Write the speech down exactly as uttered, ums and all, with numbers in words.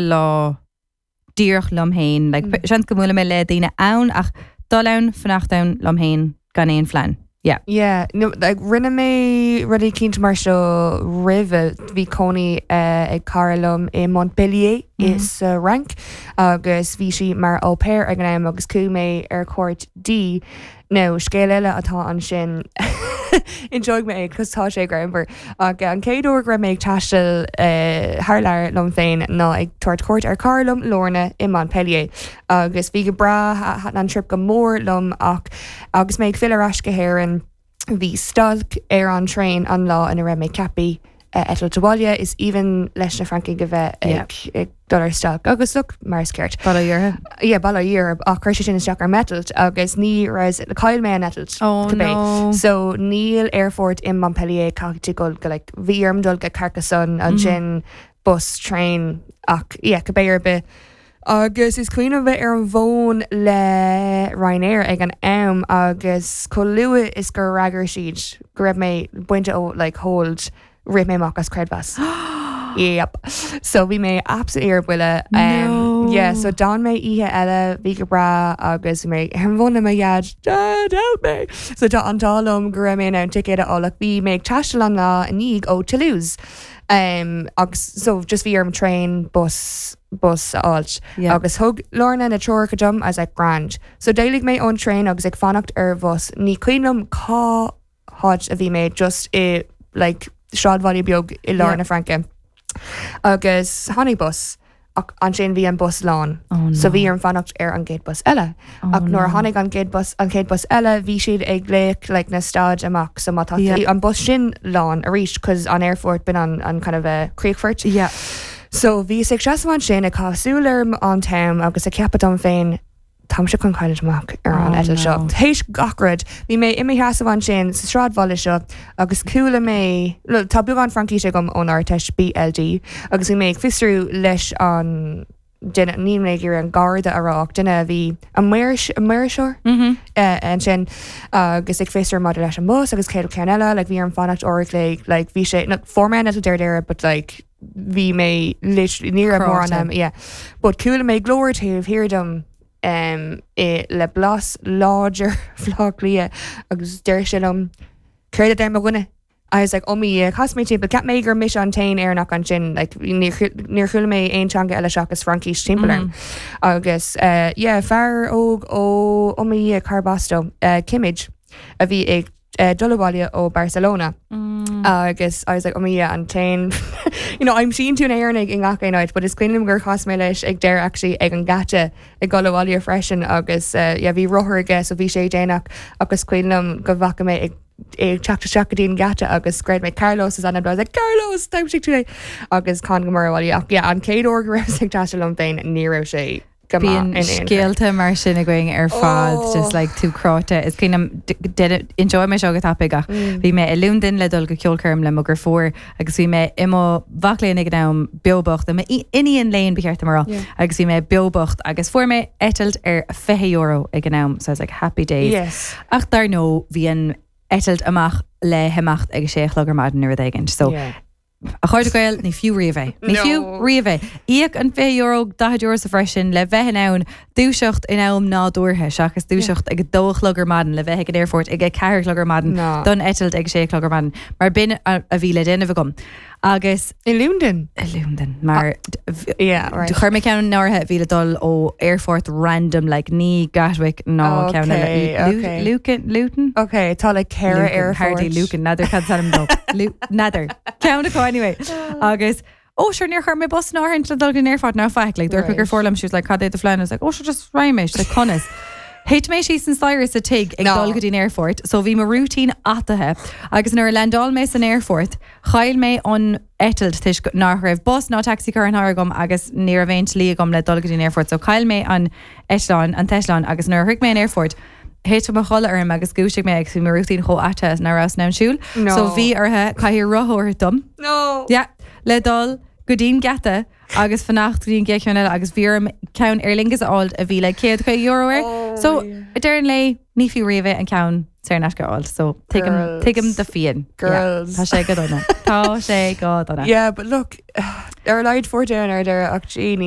lá díreach liom féin like, Mm. seans go mbuailfidh mé le daoine ann ach dul ann fanacht ann liom féin gan aon phlean. Yeah. Yeah, no, like, rinne mé rudaí cinnte mar seo roimhe bhí cónaí uh, ag cara liom i Montpellier mm -hmm. is uh, Fhrainc agus bhí sí mar au pair ag an am agus chuaigh mé ar cuairt di nó scéal eile atá ansin Inseoidh mé cos tá sé greannmhar ach an chéad uair go raibh mé ag taisteal uh, thar lear liom féin ná ag tabhairt cuairt ar chara liom Lorna i Montpellier agus bhí go breá thaitin an trip go mór liom ach agus mé ag filleadh ar ais go hÉirinn bhí stailc ar an traein an lá ina raibh mé ceaptha uh, eitilt abhaile is even leis na Francaigh a bheith ag, ag dul ar stailc agus look mar is ceart. Bail ó Dhia. Yeah, bail ó Dhia ach chuir sé sin isteach ar m'eitilt agus ní raibh chaill mé an eitilt. Oh, cibé. no. So níl aerfort in Montpellier caithfidh tú dul go like, bhí orm dul go Carcassonne ansin bus train ach yeah, cibé ar bith. Agus is cuimhin bheith ar an bhfón le Ryanair ag an am agus chomh luath is gur fhreagair siad go raibh mé bainte ó like, hold rith mé amach as creidmheas. Yep. So bhí mé absolutely ar buile. Um, No. yeah, so d'fhan mé oíche eile bhí go breá agus bhí mé ar an bhfón le mo dhaid Dad help me. So tá an t-ádh liom go raibh mé in ann ticéad a fháil ach bhí mé ag taisteal an lá i ndiaidh ó Toulouse. Um, agus so just bhí orm train bus bus a fháilt. Yeah. agus thug Lorna na treoracha dom as like grand. So d'éalaigh mé ón train agus ag fanacht ar bhus ní cuimhin liom cá háit a bhí mé just i like sráidbhaile beag i lár Yeah. na Fraince. Agus tháinig bus ach ansin bhí an bus lán. Oh, So bhí no. orm fanacht ar an gcéad bus eile. Oh, ach nuair a no. tháinig an gcéad bus an chéad bus eile bhí siad ag glaoch like, na stad amach so má tá Yeah. an bus sin lán arís cos an aerfort b'in an, an kind of a críochfort. Yeah. So bhí ag seasamh ansin ag caitheamh súil ar an t-am agus ag ceapadh dom féin táimse chun cailliúint amach ar an Oh, eitilt seo. no. Théis gach rud, bhí mé i mo sheasamh ansin sa sráidbhaile seo agus chuala mé well, tá beagán Fraincise agam ón Ardteist BLD agus bhí mé ag fiosrú leis an duine ní mé ar an garda a rá duine a bhí an maoirseoir Mm-hmm. uh, ansin agus ag fiosrú maidir leis an bus agus céad ceann eile, like, bhí orm fanacht uair like, like, bhí sé no, fuair mé an eitilt ar deireadh, but like bhí mé literally ní raibh mórán Cráite. am, yeah. But chuala mé glór taobh thiar dom um, i, le blas láidir Bhaile Átha Cliath agus deir sé liom céard a deir mo dhuine. I was like, oh me, chas mé timpeall, cheap mé gur mise an t-aon Éireannach ansin, like, níor chu- níor chuala mé aon teanga eile seachas Fraincis timpeall orm. Agus uh, yeah, fear óg ó ó me Carbasto uh, Kimmage a bhí ag uh, dul abhaile ó Barcelona. Mm. agus I was like, oh me an t-aon you know, aimsíonn tú Éireannaigh i ngach aon áit, but is cuimhin liom gur chas mé leis ag deireadh actually ag an geata ag dul abhaile freisin agus uh, yeah, bhí rothar aige so bhí sé déanach agus cuimhin liom go bhfaca mé ag ag teacht isteach go dtí an geata agus scread mé Carlos is ainm dó. I was like Carlos d'aimsigh tú é agus con go mar bhaile ach yeah, an chéad uair go raibh ag taisteal liom féin ní raibh sé go maith Bíonn in aon chor. scéalta mar sin againn ar fad Oh. just like tú cráite is cuimhin inseoidh mé seo go tapaidh ach Mm. bhí mé i Londain le dul go ceolchoirm le mo dheirfiúr agus bhí mé i mo mhac léinn ag an am beo bocht i iníon léinn ba cheart dom a rá Yeah. agus bhí mé beo bocht agus fuair mé eitilt ar fiche euro ag an am so I was like happy days. Yes. Ach dar ndóigh bhí an eitilt amach le himeacht ag sé a chlog ar maidin nó rud éigin. So Yeah. A chairde Gael ní fiú riamh é. Ní fiú No. riamh é. Íoc an fiche euro daichead euro sa freisin le bheith in ann dúiseacht in am nádúrtha seachas dúiseacht ag dó a chlog ar maidin le bheith ag an aerfort ag a ceathair a chlog ar maidin No. don eitilt ag sé a chlog ar maidin. Mar b'in a a bhí le déanamh agam. Agus I Londain. i Londain mar Yeah, right. chuir mé ceann in áirithe bhí le dul ó aerfort random like ní Gatwick ná ceann Okay, okay. Lucan Luton? Okay, tá le ceithre Lucan, aerfort. Hardy Lucan n'fheadar cad is ainm dó. Lu- N'fheadar. Ceann acu anyway. Agus oh sure níor chuir mé bus in áirithe le dul go aerfort ná faic like dúirt Right. gur fór liom she was like cad é do phlean I was like oh sure just raghaidh mé like conas. Thit mé síos an staighre sa tigh ag No. dul go dtí an aerfort, so bhí mo routine athraithe agus nuair a landáil mé san aerfort, chaill mé an eitilt toisc nach raibh bus ná taxi curtha in áirithe agam agus ní raibh aon tslí agam le dul go dtí an aerfort, so chaill mé an eitleán an t-eitleán agus nuair a shroich mé an aerfort, Thit mo chodladh orm agus dhúisigh mé agus bhí mo routine chomh athraithe nach rabhas in ann siúl. No. So bhí orthu cathaoir rotha dom. No. Yeah, le dul go dtí an geata agus fanacht go dtí an gcéad cheann eile agus bhí orm ceann Aer Lingus a fháil a bhí le céad caoga euro air. Oh, So yeah. deireadh an lae ní fiú riamh é an ceann saor in aisce a fháil, so tuigim Girls. tuigim do phian. Girls. Tá sé go dona. Tá sé go dona. Yeah, but look, ar a laghad fuair tú an ar deireadh ach gee, ní